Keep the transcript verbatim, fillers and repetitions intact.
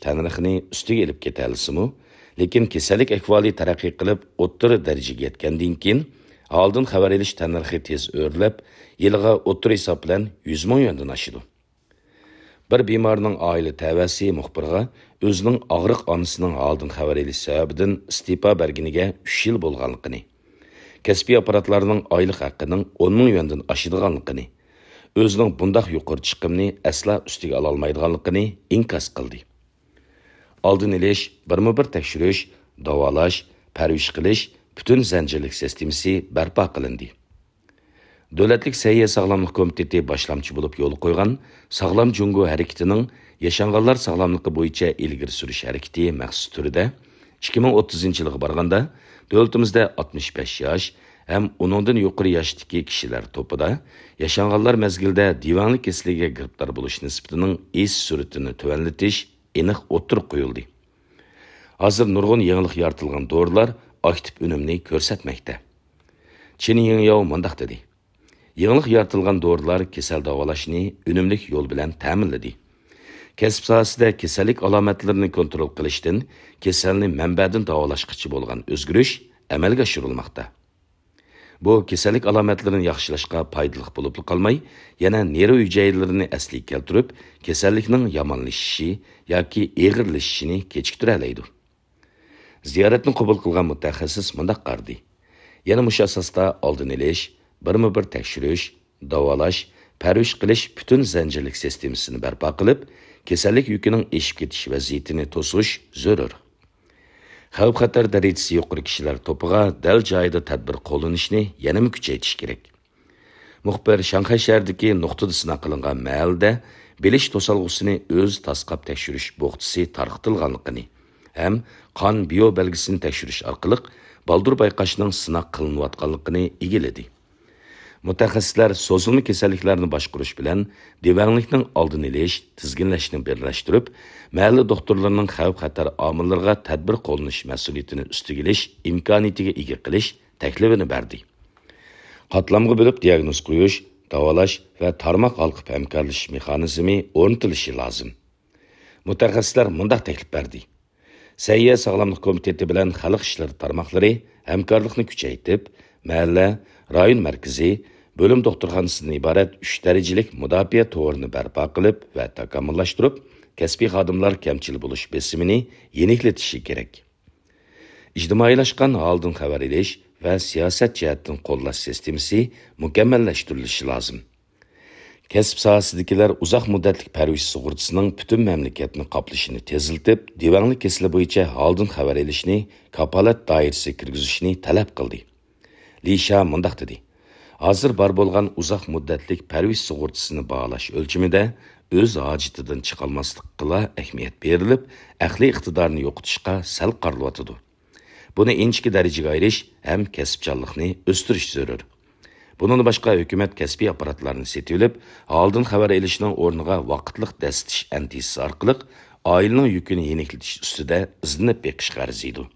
تەننەرخىنى ئۈستىگە ئېلىپ كېتەلىسىمۇ، لېكىن كېسەللىك ئەھۋالى تەرەققىي قىلىپ، ئوتتۇرا دەرىجىگە يەتكەندىن كېيىن، ھالدىن خەۋەر ئېلىش تەننەرخى تېز ئۆرلەپ، يىلىغا ئوتتۇرا ھېساب بىلەن يۈز مىڭ يۈەندىن ئاشىدۇ. بىر بىمارنىڭ ئائىلە تەۋەسى مۇخبىرغا ئۆزىنىڭ ئاغرىق ئانىسىنىڭ ھالدىن خەۋەر ئېلىش سەۋەبىدىن ئىستېپا بەرگىنىگە ئۈچ يىل بولغانلىقىنى، كەسپىي ئاپپاراتلارنىڭ ئايلىق ھەققىنىڭ ئون مىڭ يۈەندىن ئاشىدىغانلىقىنى، ئۆزىنىڭ بۇنداق يۇقىرى چىقىمنى ئەسلا ئۈستىگە ئالالمايدىغانلىقىنى ئىنكاس قىلدى. ئالدىن ئېلىش، بىرمۇبىر تەكشۈرۈش، داۋالاش، پەرۋىش قىلىش پۈتۈن زەنجىرلىك سىستېمىسى بەرپا قىلىندى. دۆلەتلىك سەھىيە ساغلاملىق كومىتېتى باشلامچى بولۇپ يولغا قويغان ساغلام جۇڭگو ھەرىكىتىنىڭ ياشانغانلار ساغلاملىقى بويىچە ئىلگىرى سۈرۈش ھەرىكىتى مەخسۇس تۈرىدە ئىككى مىڭ ئوتتۇزىنچى يىلغا بارغاندا، دۆلىتىمىزدە ئاتمىش بەش ياش ھەم ئۇنىڭدىن يۇقىرى ياشتىكى كىشىلەر توپىدا ياشانغانلار مەزگىلىدە دىۋەڭلىك كېسىلىگە گىرىپتار بولۇش نىسبىتىنىڭ ئېشىش سۈرئىتىنى تۆۋەنلىتىش ئېنىق ئوتتۇرىغا قويۇلدى. ھازىر نۇرغۇن يېڭىلىق يارىتىلغان دورىلار ئاكتىپ ئۈنۈمنى كۆرسەتمەكتە. چېن يىڭياۋ مۇنداق دېدى: يېڭىلىق يارىتىلغان دورىلار كېسەل داۋالاشنى ئۈنۈملۈك يول بىلەن تەمىنلىدى. كەسىپ ساھەسىدە كېسەللىك ئالامەتلىرىنى كونترول قىلىشتىن كېسەلنى مەنبەدىن داۋالاشقىچە بولغان ئۆزگىرىش ئەمەلگە ئاشۇرۇلماقتا. بۇ كېسەللىك ئالامەتلىرىنى ياخشىلاشقا پايدىلىق بولۇپلا قالماي، يەنە نېرۋا ھۈجەيرىلىرىنى ئەسلىگە كەلتۈرۈپ، كېسەللىكنىڭ يامانلىشىشى ياكى ئېغىرلىشىشىنى كېچىكتۈرەلەيدۇ. زىيارەتنى قوبۇل قىلغان مۇتەخەسسىس مۇنداق قارىدى: يەنە مۇشۇ ئاساستا ئالدىن ئېلىش، بىرمۇبىر تەكشۈرۈش، داۋالاش، پەرۋىش قىلىش پۈتۈن زەنجىرلىك سىستېمىسىنى بەرپا قىلىپ، كېسەللىك يۈكىنىڭ ئېشىپ كېتىش ۋەزىيىتىنى توسۇش زۆرۈر. خەۋپ-خەتەر دەرىجىسى يۇقىرى كىشىلەر توپىغا دەل جايىدا تەدبىر قوللىنىشنى يەنىمۇ كۈچەيتىش كېرەك. مۇخبىر شاڭخەي شەھىرىدىكى نۇقتىدا سىناق قىلىنغان مەھەللىدە بىلىش توسالغۇسىنى ئۆزى تاسقاپ تەكشۈرۈش بوختىسى تارقىتىلغانلىقىنى ھەم قان بىيو بەلگىسىنى تەكشۈرۈش ئارقىلىق بالدۇر بايقاشنىڭ سىناق قىلىنىۋاتقانلىقىنى ئىگىلىدى. مۇتەخەسسىسلەر سوزۇلما كېسەللىكلەرنى باشقۇرۇش بىلەن دىۋەڭلىكنىڭ ئالدىنى ئېلىش، تىزگىنلەشنى بىرلەشتۈرۈپ، مەھەللە دوختۇرلىرىنىڭ خەۋپ-خەتەر ئامىللىرىغا تەدبىر قوللىنىش مەسئۇلىيىتىنى ئۈستىگە ئېلىش ئىمكانىيىتىگە ئىگە قىلىش تەكلىپىنى بەردى. قاتلامغا بۆلۈپ دىياگنوز قويۇش، داۋالاش ۋە تارماق ھالقىپ ھەمكارلىشىش مېخانىزمى ئورنىتىلىشى لازىم. مۇتەخەسسىسلەر مۇنداق تەكلىپ بەردى: سەھىيە ساغلاملىق كومىتېتى بىلەن خەلق ئىشلىرى تارماقلىرى ھەمكارلىقنى كۈچەيتىپ، مەھەللە، رايون مەركىزى، بۆلۈم دوختۇرخانىسىدىن ئىبارەت ئۈچ دەرىجىلىك مۇداپىئە تورىنى بەرپا قىلىپ ۋە تاكامۇللاشتۇرۇپ، كەسپىي خادىملار كەمچىل بولۇش بېسىمىنى يېنىكلىتىشى كېرەك. ئىجتىمائىيلاشقان ھالدىن خەۋەر ئېلىش ۋە سىياسەت جەھەتتىن قوللاش سىستېمىسى مۇكەممەللەشتۈرۈلۈشى لازىم. كەسىپ ساھەسىدىكىلەر ئۇزاق مۇددەتلىك پەرۋىش سۇغۇرتىسىنىڭ پۈتۈن مەملىكەتنى قاپلىشىنى تېزلىتىپ، دىۋەڭلىك كېسىلى بويىچە ھالدىن خەۋەر ئېلىشنى كاپالەت دائىرىسىگە كىرگۈزۈشنى تەلەپ قىلدى. لى شيا مۇنداق دېدى: ھازىر بار بولغان ئۇزاق مۇددەتلىك پەرۋىش سۇغۇرتىسىنى باھالاش ئۆلچىمىدە ئۆز ھاجىتىدىن چىقالماسلىققىلا ئەھمىيەت بېرىلىپ، ئەقلىي ئىقتىدارنى يوقىتىشقا سەل قارىلىۋاتىدۇ. بۇنى ئىنچىكە دەرىجىگە ئايرىش ھەم كەسىپچانلىقنى ئۆستۈرۈش زۆرۈر. بۇنىڭدىن باشقا، ھۆكۈمەت كەسپىي ئاپپاراتلارنى سېتىۋېلىپ، ھالدىن خەۋەر ئېلىشنىڭ ئورنىغا ۋاقىتلىق دەسسىتىش ئەندىزىسى ئارقىلىق ئائىلىنىڭ يۈكىنى يېنىكلىتىش ئۈستىدە ئىزدىنىپ بېقىشقا ئەرزىيدۇ.